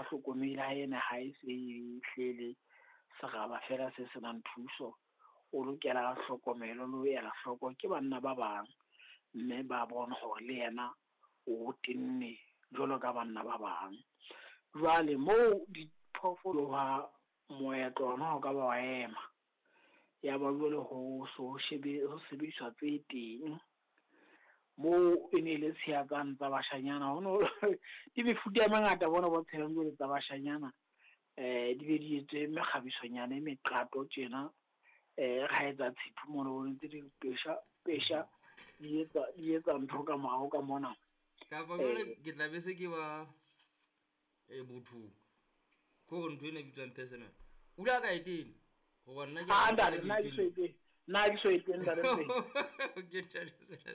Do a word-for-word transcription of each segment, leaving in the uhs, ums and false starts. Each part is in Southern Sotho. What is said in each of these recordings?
hlokomele ha ena ha e se e hlele seraba fela se senang thuso, o lokela hlokomelo le ho ela hloko ke banna ba bang, mme ba bone hore le yena o tenne jwalo ka banna ba bang. Jwale moo diphoofolo ha moetlo ona o ka ba wa ema, ya ba jwale ho so shebe ho sebediswa tse teng. Moo e ne le tshiya tsane tsa bashanyana, ho no di mefuta e mengata bona bo tshelang jwale tsa bashanyana. Eh di be di etswe mekgabisonyana e meqato tjena, eh ra etsa tshiphu mono bo ntse di pesha pesha di etsa di etsa ntho ka morao ka mona. Kapa jwale ke tla be se ke ba e bothong. Ke hore ntho ena e bitswang personal. O ile a ka e tena? Hoba nna ke Ah, ntate, nna ke so e tene. Nna ke so e tene, ntate. Ke ntate.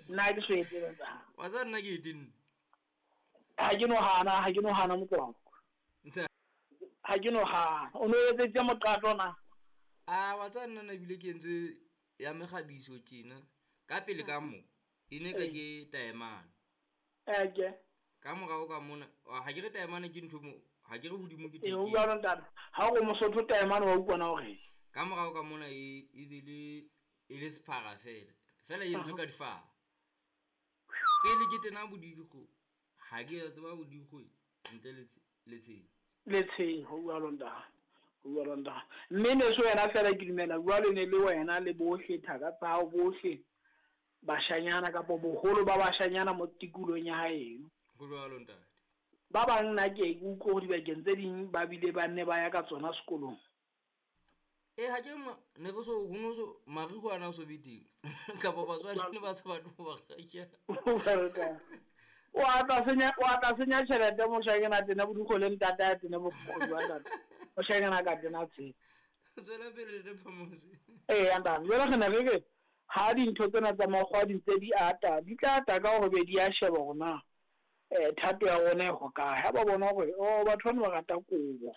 Nna ke so e tene, ntate. Wa tseba nna ke e tenne. Ha ke no hana, ha ke no hana motswako. Ntate. Ha ke no hana. O no etsetse moqato na? Ah, wa tseba nna na ebile ke entse ya mekgabiso tjena. Ka pele ka mo, e ne ka ke taemane. Eh, ke. Ka morao ka mona, ha ke re taemane ke ntho mo, ha ke re hodimo ke E, teke. o jwalo ntate. Ha o Mosotho taemane wa utlwa na hore? Ka morao ka mona e, e be le, e le sephara fela. Fela e entswe ka difaha. Pele ke tena bodikgo, ha ke a tseba bodikgo ntle le tse-, le tsheho. Le tsheho, ho jwalo ntate. Ho jwalo ntate. Mme ne se wena fela ke dumela jwalo ne le wena le bohle thaka tsa hao bohle bashanyana kapa boholo ba bashanyana mo tikolong ya haeno. Ho jwalo ntate. Ba bang nna ke utlwe hore dibakeng tse ding ba bile ba nne ba ya ka tsona sekolong. Eh, ha ke ma-, ne re so, ho no so, mariho ana so be teng. Kapa batswadi ne ba sa batle ho ba rekela. O a tla senya, o a tla senya tjhelete moshanyana tena bodikgo le ntate a tena bodikgo jwa ntate. Moshanyana ka tena tshe. Tswela pele le Phamose. Eh, ntate, jwale re ne re re ha dintho tsena tsa makgowa di ntse di ata, di tla ata ka hore be di a sheba hore na, eh, thato ya rona e hokae. Ha ba bona hore, oh, batho bana ba rata kobo,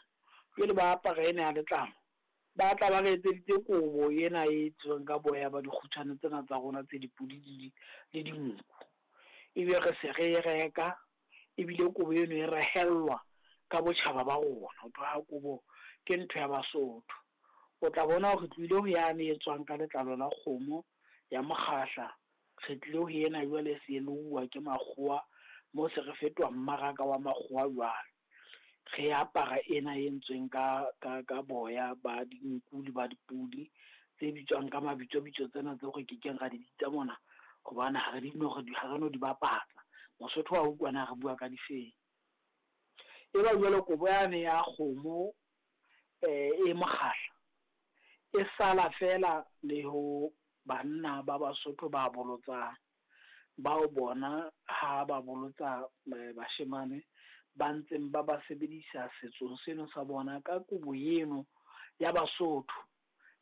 jwale ba apara ena ya letlalo, ba tla ba re etseditse kobo ena e etswang ka boya ba dikgutshwane tsena tsa rona tse dipudi le di-, le dinku. Ebe re se re e reka, ebile kobo eno e rehellwa ka botjhaba ba rona. Ho tloha kobo ke ntho ya Basotho. O tla bona hore re tlohile ho yane e tswang ka letlalo la kgomo ya mokgahla, re tlile ho ena jwale se louwa ke makgowa, mo se re fetoha mmaraka wa makgowa jwale. Re apara ena e entsweng ka, ka, ka boya ba dinku le ba dipudi, tse bitswang ka mabitsobitso tsena tseo re kekeng ra di bitsa mona, hobane ha re di no, ha re no di bapatsa. Mosotho wa utlwa na re bua ka difeng. E ba jwale kobo yane ya kgomo, eh, e mokgahla, e sala fela le ho banna ba Basotho ba bolotsang, bao bona ha ba bolotsa, eh, bashemane ba ntseng ba ba sebedisa setsong seno sa bona ka kobo eno ya Basotho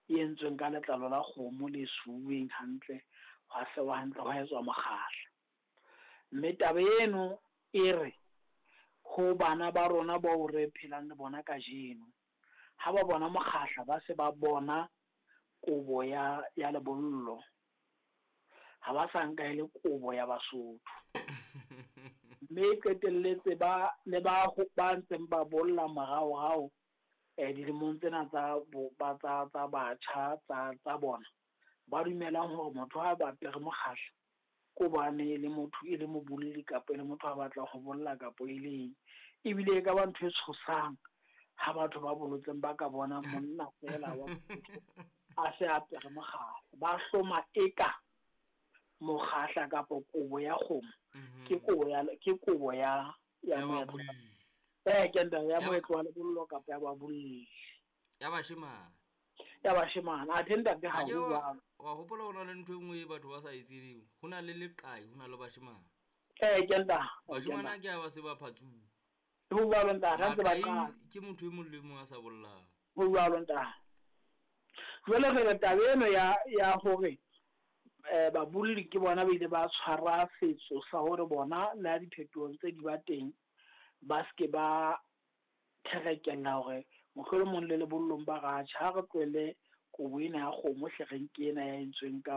e entsweng ka letlalo la kgomo le suweng hantle, hwa sewa hantle, hwa etswa mokgahla. Mme taba eno e re ho bana ba rona bao re phelang le bona kajeno, ha ba bona mokgahla ba se ba bona kobo ya, ya lebollo, ha ba sa nka e le kobo ya Basotho. Mme qetelletse ba le ba ho, ba ntseng ba bolla moraorao, eh, dilemong tsena tsa bo, ba, tsa, tsa batjha, tsa, tsa bona, ba dumelang hore motho ha ba apere mokgahla ko bane e le motho, e le mobolli kapa e le motho a batlang ho bolla kapa e le eng. Ebile e ka ba ntho e tshosang ha batho ba bolotseng ba ka bona monna fela wa motho a se apere mokgahla, ba hloma eka mokgahla kapa kobo ya kgomo Mhm. ke kobo ya, ke kobo ya, ya Ya moetlo. babolli. Eh, ke nta ya Ya moetlo wa lebollo kapa ya babolli. Ya bashemane. Ya bashemane. Athe ntate ha Ha ke ho wa- jwalo. wa hopola ho na le ntho e nngwe e batho ba sa e tsebeng. Ho na le leqai, ho na le bashemane. Eh, ke nta. Bashemane a ke a ba se ba phatsuwa. Ho jwalo ntate, ha ntse ba Maqai qala. ke motho e mong le mong a sa bollang. Ho jwalo ntate. Jwale re re taba eno ya, ya hore, eh, babolli ke bona ba ile ba tshwara setso sa hore bona le ha diphetoho tse di ba teng, ba ske ba therekella hore mohlolomong le lebollong ba ratjha, ha re tlohele kobo ena ya kgomo hle re nke ena ya entsweng ka